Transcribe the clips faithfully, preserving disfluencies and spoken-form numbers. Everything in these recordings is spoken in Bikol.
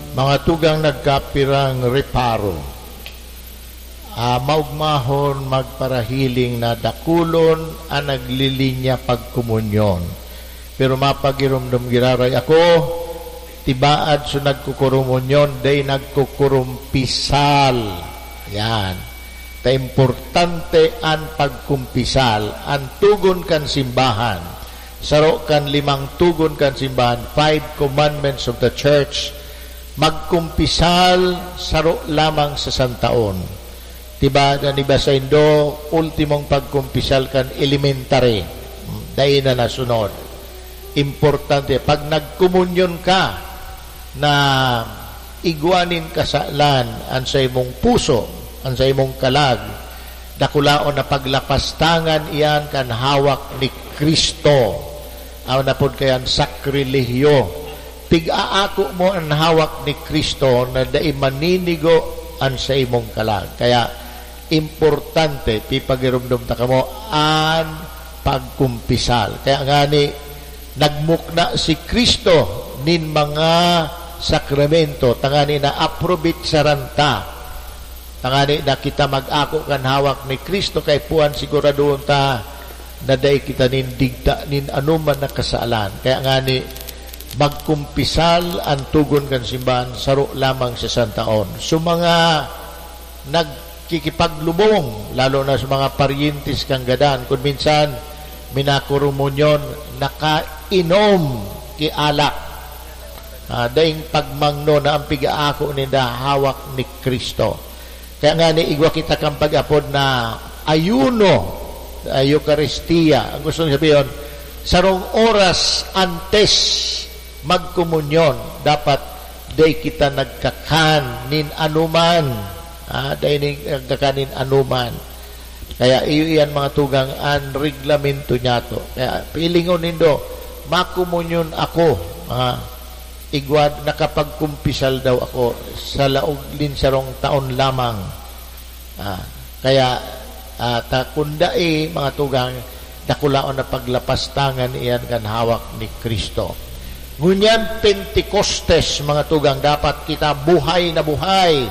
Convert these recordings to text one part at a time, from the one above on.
Mga tugang nagkapirang reparo, ah, maugmahon magparahiling na dakulon an naglilinya pagkomunyon. Pero mapagiromdom giraray ako, tibaad so nagkokorumunyon, dai nagkokorumpisal. Yan. Ta importante an pagkumpisal, an tugon kan simbahan. Saro kan limang tugon kan simbahan, five commandments of the church, magkumpisal saro lamang sa santaon. Diba, an iba saindo, ultimong pagkumpisal kan elementary, dai na nasunod. Importante, pag nagkomunyon ka, na igwa nin kasalan an saimong puso, an saimong kalag, dakulaon na paglapastangan iyan kan hawak ni Cristo. Aw na pod kayan, sakrilehyo. Pig-aako mo an hawak ni Cristo na dai maninigo an saimong kalag. Kaya, importante, pipagiromdom ta kamo, an pagkumpisal. Kaya ngani, nagmukna si Cristo nin mga sakramento, tangani na aprobitsaran ta, tangani na kita mag-ako kan hawak ni Cristo, kay puan siguradohon ta na dai kita nin digta nin anoman na kasalan. Kaya ngani, magkumpisal an tugon kan simbahan, saro lamang sa santaon. So, mga nagkikipaglubong, lalo na sa mga paryentes kan gadan, kun minsan, minakorumunyon, nakainom ki alak. Ah, daing pagmangno na an pig-aako ninda hawak ni Cristo. Kaya ngani, igwa kita kan pag-apod na ayuno, ah, Eukaristia. Ang gustong sabihin, sarong oras antes magkomunyon, dapat dai kita nagkakan nin anoman. Ah, dai nin-, nagkakan nin anoman. Kaya iyo iyan, mga tugang, an reglamento niyato. Kaya pilingon nindo, "Makomunyon ako." Ah, igwa, nakapagkumpisal daw ako sa laog nin sarong taon lamang. Ah, kaya, ah, ta, kun dai, mga tugang, dakulaon na paglapastangan iyan kan hawak ni Cristo. Ngunyan, Pentecostes, mga tugang, dapat kita buhay na buhay.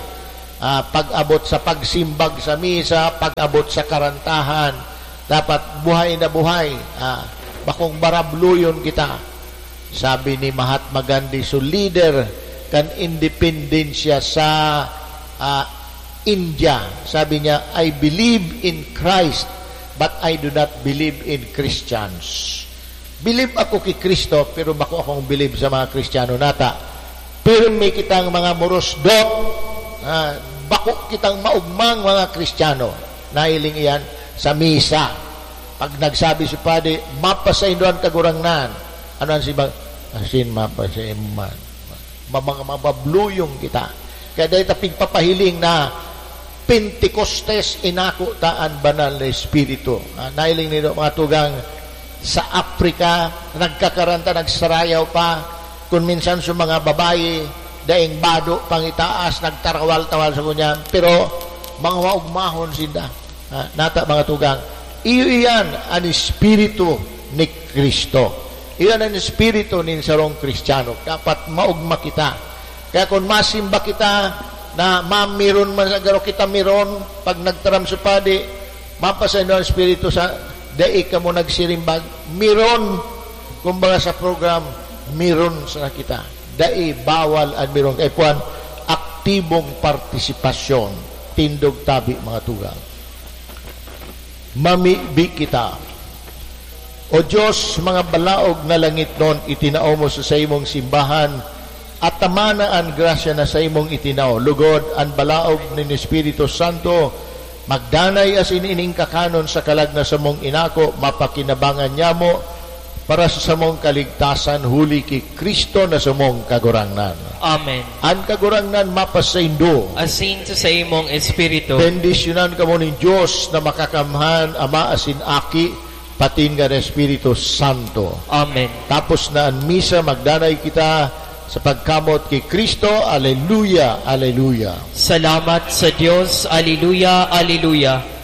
Ah, pag-abot sa pagsimbag sa misa, pag-abot sa karantahan, dapat buhay na buhay. Ah, bakong barabluyon kita. Sabi ni Mahatma Gandhi, so leader kan independensya sa, ah, India, sabi niya, "I believe in Christ, but I do not believe in Christians." Bilib ako ki Cristo, pero bako akong bilib sa mga Kristiyano. Nata, pirmi kitang mga morosdot, ah, bako kitang maugmang mga Kristiyano. Nahiling iyan sa misa. Pag nagsabi si padi, "Mapasaindo an Kagurangnan." Ano an simbag? Asin mapasaiman. Ma-, mga mababluyong kita. Kaya dahil ta pigpapahiling na Pentecostes, inako ta an Banal na Espiritu. Ah, nahiling nindo, mga tugang, sa Africa, nagkakaranta, nagsarayaw pa. Kun minsan sa mga babayi, daing bado, pangitaas, nagtarawal-tawal sa ngunyan. Pero, mga maugmahon sinda. Ah, nata, mga tugang, iyo iyan an Espiritu ni Cristo. Iyan an Espiritu nin sarong Kristiyano. Dapat maugma kita. Kaya kun masimba kita na mamiron man sa garo kita miron, pag nagtaram sa padi, mapasaindo an Espiritu sa dai kamo nagsirimbag, miron, kumbaga sa program, miron sana kita. Dai bawal an miron. Kaya puan, aktibong partisipasyon. Tindog tabi, mga tugang. Mamibi kita. O Dios, mga balaog na langitnon, itinao mo sa saimong simbahan, at tama na an grasya na saimong itinao. Lugod, an balaog nin Espiritu Santo, magdanay asin ining kakanon sa kalag na samong inako, mapakinabangan niya mo, para sa samong kaligtasan huli ki Cristo na samong Kagurangnan. Amen. An Kagurangnan mapasaindo. Asin sa saimong espiritu. Bendisyonan kamo nin Dios na Makakamhan, Ama asin Aki, patin kan Espiritu Santo. Amen. Tapos na an misa, magdanay kita sa pagkamot ki Cristo. Aleluya, aleluya. Salamat sa Dios. Aleluya, aleluya.